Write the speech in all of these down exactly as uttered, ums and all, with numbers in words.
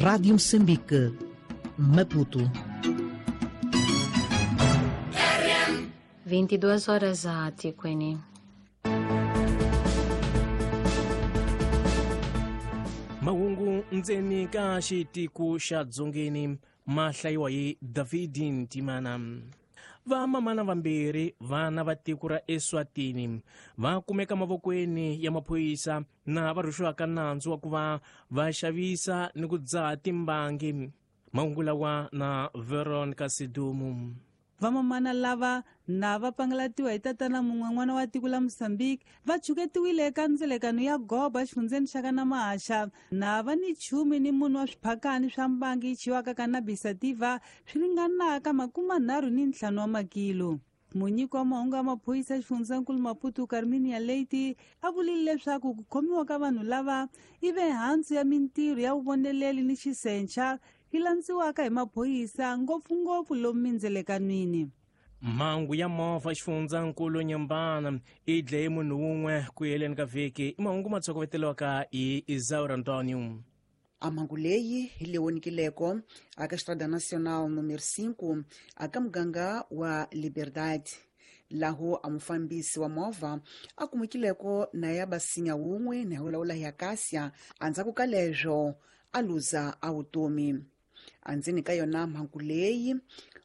Rádio Moçambique, Maputo. vinte e duas horas a Tiquini. Mahungu ndzeni ka xitiko xa Dzongeni ma hlayiwa hi David Ntimana. Vamamana vambirhi vana va tiko ra Eswatini va kumeka mavokweni ya maphorisa na va rhuxiwaka nandzu wa ku va va xavisa ni ku dzaha timbangi. Mahungu lawa na Veronica Sidumu. Vamamana lava na va pangalatiwa hi tatana mun'we n'wana wa tiko la Mozambique va chuketiwile eka ndzelekano ya goba xifundzeni xa ka Namahaxa na va ni chumi ni munhu wa swiphakani swa mbangi yi chiwaka cannabis sativa swi ringanaka makumanharhu ni ntlhanu wa makilo. Munyiki wa mahungu ya maphorisa xifundzankulu Maputo Carminia Leite a vulile leswaku ku khomiwa ka vanhu lava i ve hansi ya mintirho ya vuvoneleli ni xisencha yi landziwaka hi maphorisa ngopfungopfu lomu mindzelekanwini. Mhangu ya movha xifundzankulu Nyambana i dlaye munhu wun'we ku heleni ka vhiki. I mahungu ma tshokoveteliwaka hi Isaura Antonio. A mhangu leyi hi leyi vonikileko aka Estrada Nacional número cinco aka muganga wa Liberdade, laho a mufambisi wa movha a kumekileko na ya basinya wun'we na ya ya Acacia andzhaku ka leswo a luza a vutomi. Andzeni ka yona mhangu leyi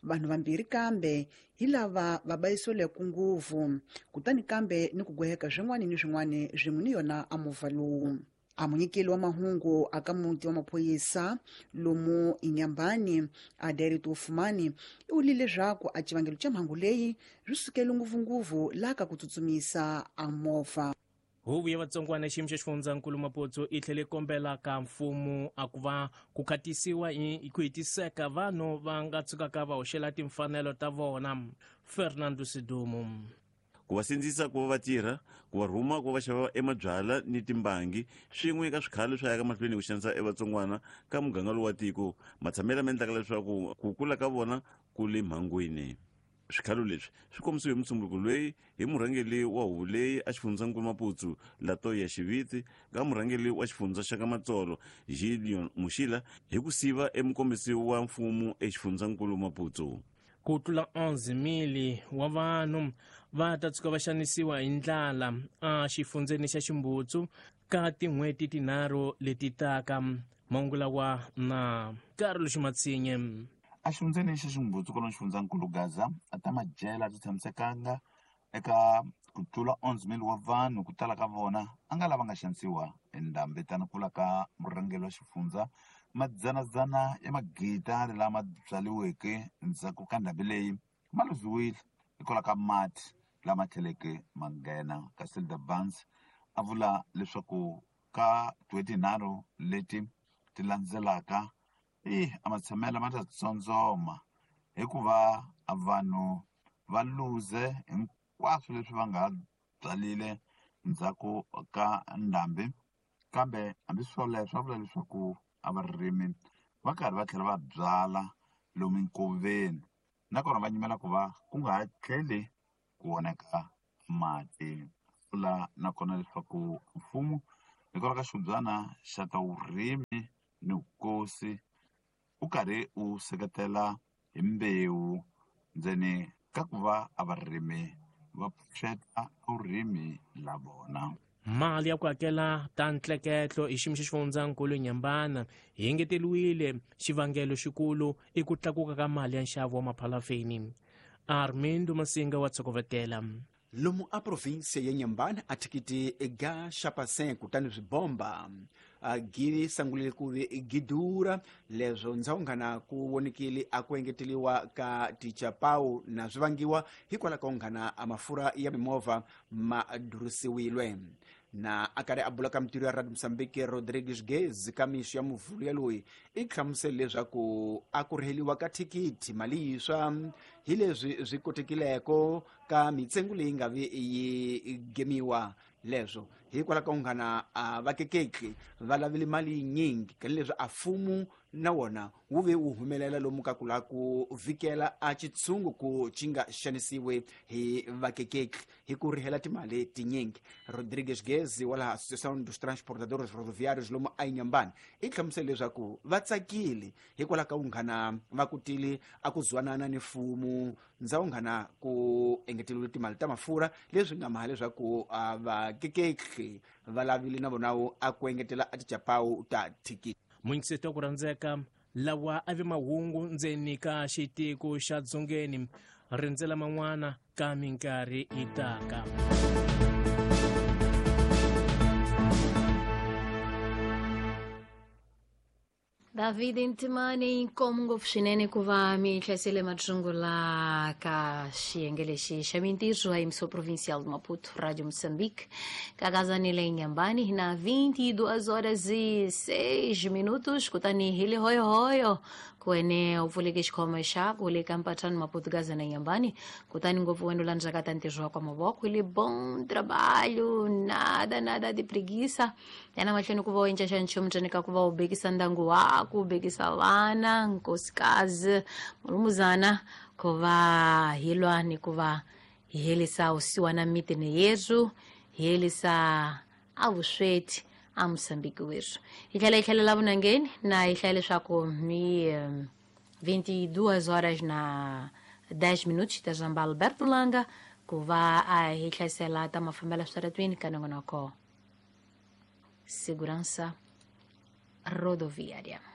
vanhu vambirhi kambe hi lava va bayisiweke nguvu, kutani kambe ni ku gweheka swin'wana ni swin'wana swin'we ni yona a movha lowu. A munyikeli wa mahungu aka muti wa maphorisa lomu Inyambani a Derito Fumani i vulile leswaku a xivangelo xa mhangu leyi swi sukele ngopfungopfu laha ka ku tsutsumisa a movha. Huvo ya vatsongwana xiyimo xa xifundzankulu Maputo i tlhele kombela ka mfumo a ku va ku khatisiwa hi ku hetiseka vanhu va nga tshukaka va hoxela timfanelo ta vona. Fernando Sidumo. Ku va sindzisa ku va va tirha, ku va rhuma ku va xava emabyala ni timbangi swin'we ka swikhalo swa yaka mahlweni ku xanisa evatsongwana ka muganga lowu wa tiko matshamelo ma endlaka leswaku ku kula ka vona ku le mhangwini. Swikhalo leswi swi kombisiwe hi mutsumbuko loyi hi murhangeri wa huvo leyi a xifundzankulu Maputo Latoya Xiviti ka murhangeri wa xifundza xa ka Matsolo Gideon Muxila hi ku siva emukombisi wa mfumo exifundzankulu Maputo. Ku tlula onze mili wa vanhu va ta tshuka va xanisiwa hi ndlala a xifundzeni xa Ximbutsu ka tin'hweti tinharhu leti taka. Mahungu lawa na Carlos Ximatsinye. A xifundzeni xa Ximbutsu kwalomu xifundzankulu Gaza a ta madyela ti tshamisekanga eka ku tlula onze mili wa vanhu ku tala ka vona a nga lava nga xanisiwa hi ndhambi tani kula ka murhangeri wa xifundza madzanadzana ya magidari lama byaliweke ndzhaku ka ndhambi leyi ma luziwile hikwalaho ka mati lama tlheleke ma nghena. Kasi the Barnes a vula leswaku ka tin'hweti tinharhu leti ti landzelaka i a matshamelo ma ta tsondzoma hikuva vanhu va luze hinkwaswo leswi va nga byalile ndzhaku ka ndhambi, kambe hambi swoleswo a vula leswaku a varimi va karhi va tlhela va byala lomu nkoveni nakona va nyimela ku va ku nga ha tlheli ku oneka mati. Vula nakona leswaku mfumo hikwalaho ka xibyana xa ta vurimi ni vukosi u karhi u seketela hi mbewu ndzeni ka ku va a varimi va pfuxeta vurimi la vona. Mali ya ku hakela ta ntleketlo hi xiyimo xa xifundzankulu Nyambana yi engeteriwile. Xivangelo xikulu i ku tlakuka ka mali ya nxavo wa maphalafeni. Armindo Masinga wa tshokovetela. Lomu a provinsia ya Nyambana a thikiti ga xapasen kutani swibomba gi sangulile ku vi gidura leswo ndzawunghana ku vonikile a ku engeteliwa ka tichapau na swi vangiwa hikwalaho ka unghana a mafurha ya mimovha ma durisiwile. Na a karhi a bula ka mintirho ya Radio Mozambique Rodrigues Gez ka mixo ya muvhulu ya loyi i hlamusele leswaku a ku rheliwa ka thikithi mali yiswa hi leswi swi kotekileko ka mitsengo leyi nga vi yi gemiwa leswo Hikwalaho ka unghana a vakekeki va lavile mali yinyingi kanileswi a mfumo na wona wu ve wu humelela lomu ka ku lava ku vikela a xitshungu ku xi nga xanisiwe hi vakekeki hi ku rihela timali tinyingi. Rodrigues Gezi wa laha Associação dos Transportadores Rodoviários lomu a Inhambane i hlamusele leswaku va tsakile hikwalaho ka unghana va kutile a ku zwanana ni mfumo ndzawunghana ku engeteriwile timali ta mafurha leswi nga maha leswaku vakekeki va lavile na vona a ku engetela a tichapawu ta thikithi. Munyikiseti wa ku rhandzeka lawa a vi mahungu ndzeni ka xitiko xa dzongeni rindzela man'wana ka minkarhi yi taka. David Ntimani inkomu ngopfu swinene ku va mi hlayisele matsungula ka xiyenge lexi xa mintirho a emissão provincial de Maputo, Rádio Moçambique, kakazanile Inhambane na vinte e duas horas e seis minutos, kutani hili hoyo hoyo kuene u pfuleke xikhoma xaku le ka mpathani Maputo Gaza na Inhambane, kutani ngopfu wena u landzaka ta ntirho wa kwa mavoko ile bom trabalho, nada nada de preguiça. Yana mahlweni ku va u endla xa nchumu ntsena ka ku va u bekisa ndyangu wako, bekisa vana, nkosikazi, mulumuzana, ku va hi lwa ni ku va hi herisa vusiwana mitini yerhu, hi herisa a vusweti a Moçambique werhu. Hi tlhela hi tlhelela vunangeni na hi hlaya leswaku mi vinte e duas horas na dez minutos ta zamba Alberto Langa ku va a hi hlayisela ta mafambelo switaratwini ka nongonoko Segurança Rodoviária.